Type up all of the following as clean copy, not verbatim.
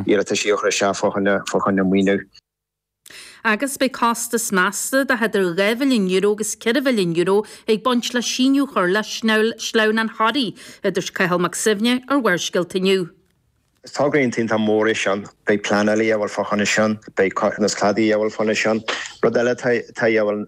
iarrataisí a chur isteach fá choinne, fá choinne maoiniú. Agus beidh costas measta de idir €2 mhilliún agus €4 mhilliún ag baint le síneadh a chur le Sleamhnán Thoraí, a dúirt Cathal Mac Suibhne ar Bharrscéalta inniu. Is togra iontach mór é sin. Beidh pleanáil a dhíobháil fá choinne sin, beidh cothromas cladaigh a dhíobháil fá choinne sin. Rud eile atá a dhíobháil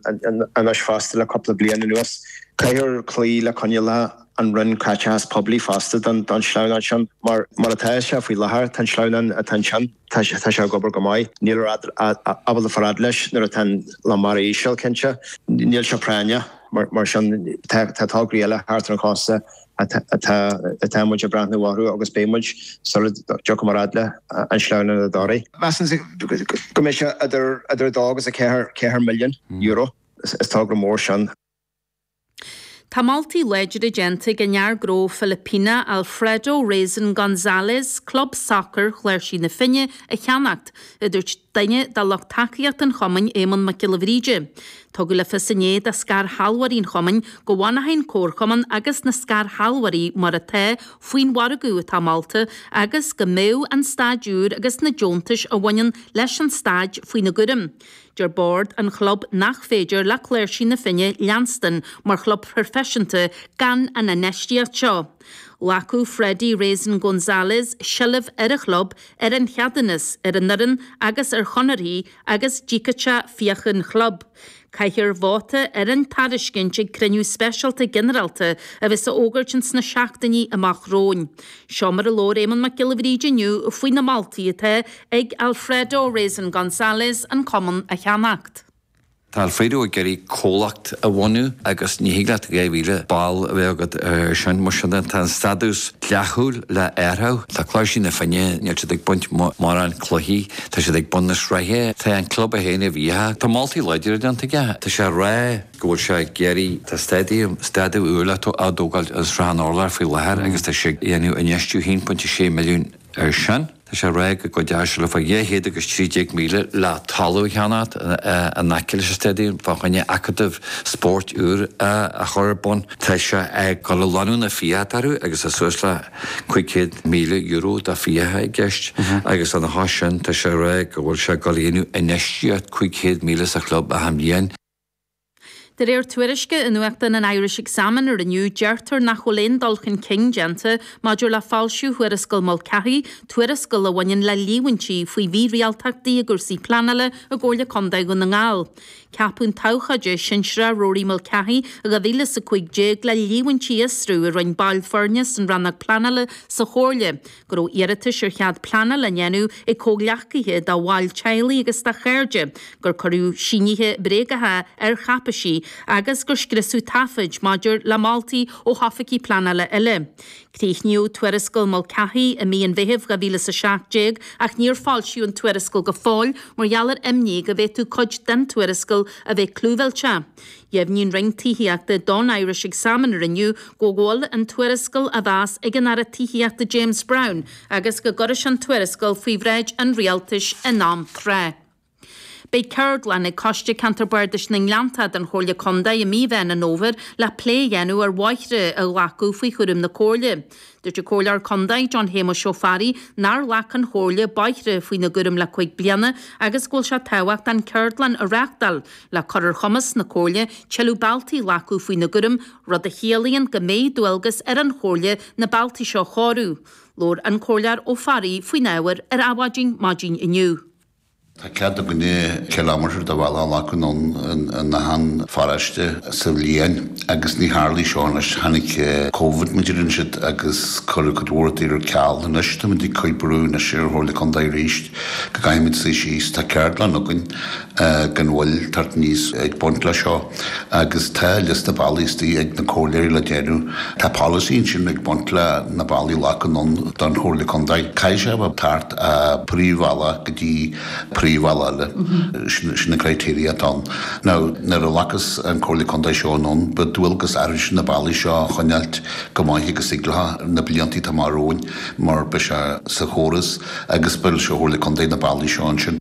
anois fosta le cúpla bliain anuas, caithfear cloí le coinníollacha an Roinn Caiteachas Poiblí fosta don sleamhnán sin. Mar mar atá sé faoi láthair, tá an sleamhnán atá ansin, tá sé ag obair go maith. Níl ábalta fáil fhad leis nuair atá an lá mara íseal, cinnte. Níl sé práinneach. Mar sin, tá tograí eile thart ar an chósta atá muid ag breathnú orthu agus beidh muid sula dtiocfaidh muid fhad le an sleamhnán i dToraigh. Measaim go mbeidh sé idir 2 agus 4 milliún euro. Is togra mór sin. Tá moltaí láidre déanta ag an fhear gnó Filipíneach Alfredo Reyzon Gonzalez club sacair Chláirsigh na Finne a cheannacht, a dúirt duine de lucht tacaíochta an chumainn, Éamonn Mac Giolla Bhríde. Tugadh le fios inné do scairshealbhóirí an chumainn go bhfanfaidh an comharchumann agus na scairshealbhóirí mar atá faoin mhargadh atá molta agus go mbeadh an staid úr agus na deontais a bhaineann leis an staid faoina gcúram. Deir bord an chlub nach féidir le Cláirsigh na Finne leanstan mar chlub proifisiúnta gan an infheistíocht seo. Ghlacfadh Freddie Reyzon Gonzalez seilbh ar an chlub, ar an cheadúnas, ar an fhoireann agus ar chonarthaí agus d'íocfadh sé fiacha an chlub. Caithfear vóta ar an tairiscint ag cruinniú speisialta ginearálta a bheas á fhógairt ins na seachtainí amach romhainn. Seo mar a labhair Éamonn Mac Giolla Bhríde inniu faoi na moltaí atá ag Alfredo Reyzon Gonzalez an cumann a cheannacht. Tá Alfredo ag iarraidh comhlacht a bhunú agus ní thig leat 2,000 ball a bheith agat ar sin. Mar sin de, tá an stádús dleathúil le athrú. Tá Cláirsigh na Finne, níl siad ag baint mórán cluichí, tá siad ag bun na sraithe. Tá an club é féin i bhfiacha. Tá moltaí láidre déanta aige. Tá sé ag rá go bhfuil sé ag iarraidh, tá stadium, stadium úr le á dtógáil i Srath an Urláir faoi láthair agus tá sé ag déanamh infheistiú 1.6 milliún ar sin. Tá sé ag rá go gcuideoidh sé le fá 213,000 le talamh a cheannacht in aice leis an stadium fá choinne acadamh spóirt úr a chur ar bun. Tá sé ag dul a lonnú na fiacha atá orthu agus tá suas le €500,000 de fiacha i gceist agus lena chois sin tá sé ag rá go bhfuil sé ag dul a dhéanamh infheistíocht 500,000 sa chlub achan bhliain. De réir tuairisce i nuachtán an Irish Examiner inniu, deirtear nach bhfuil aon dul chun cinn déanta maidir le foilsiú Thuarascáil Mulcahy, tuarascáil a bhaineann le líomhaintí faoi mhírialtachtaí i gcúrsaí pleanála i gComhairle Contae Dhún na nGall. Ceapadh an t-abhcóide sinsearach Rory Mulcahy i 2015 le líomhaintí a fhiosrú a rinne baill foirne san rannóg pleanála sa Chomhairle go raibh iarratais ar chead pleanála á ndéanamh ag comhghleacaithe de bhaill teaghlaigh agus de chairde, gur cuireadh sínithe bréagacha ar cháipéisí agus gur scriosadh taifid maidir le moltaí ó hoifigigh pleanála eile. Críochnaíodh tuarascáil Mulcahy i mí an Mheithimh 2017 ach níor foilsíodh an tuarascáil go fóill mar gheall ar imní go bhféadfadh cuid den tuarascáil a bheith clúmhillteach. Dheimhnigh an Roinn Tithíochta don Irish Examiner inniu go bhfuil an tuarascáil á mheas ag an Aire Tithíochta James Browne agus go gcuirfidh sé an tuarascáil faoi bhráid an Rialtais in am tráth. Beidh ceardlann ag Coiste Ceantar Bardais na nGleanntach den Chomhairle Contae i mí Mheán an Fhómhair le plé a dhéanamh ar bhóithre a ghlacadh faoi chúram na Comhairle. Dúirt an Comhairleoir Contae John Shéamuis Ó Fearraigh nár ghlac an Chomhairle bóithre faoina gcúram le 5 bliana agus go bhfuil sé tábhachtach an ceardlann a reáchtáil le cur ar chumas na Comhairle tuilleadh bealtaí a ghlacadh faoina gcúram, rud a chiallaíonn go mbeidh dualgas ar an Chomhairle na bealtaí seo a chóiriú. Labhair an Comhairleoir Ó Fearraigh faoin ábhar ar Adhmhaidin maidin inniu. Tá cead againne kilometre de bhealach a ghlacadh anonn in achan pharóiste sa bhliain agus ní tharlaigh seo anois. Tháinig Covid mar a deireann siad agus cuireadh cuid mhór rudaí ar ceal. Anois táimid ag cur brú anois ar an Chomhairle Contae arís go gcaithfimid suí síos. Tá ceardlann againn gan mhoill teacht aníos ag baint le seo agus tá liosta bealaí istigh ag na comhairleoirí le déanamh. Tá polasaí ansin ag baint le na bealaí a ghlacadh anonn don Chomhairle Contae. Caithfidh sé a bheith thart ó príomhbhealach go dtí príomhbhealach eile. Sin an criteria atá ann. Now nuair a ghlacas an Comhairle Contae seo anonn beidh dualgas orainn na bealaí seo a choinneáilt go maith agus thig leo na blianta atá amach romhainn mar beidh sé sa chóras agus beidh sé Chomhairle Contae na bealaí seo ansin.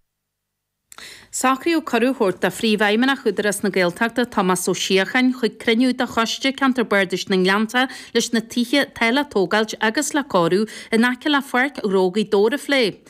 Socraíodh cuireadh a thabhairt do Phríomhfheidhmeannach Údarás na Gaeltachta, Tomás Ó Síocháin, chuig cruinniú de Choiste Ceantar Bardais na nGleanntach leis na tithe atá le tógáilt agus le cóiriú in aice le Pháirc Ghnó Ghaoth Dobhair a phlé.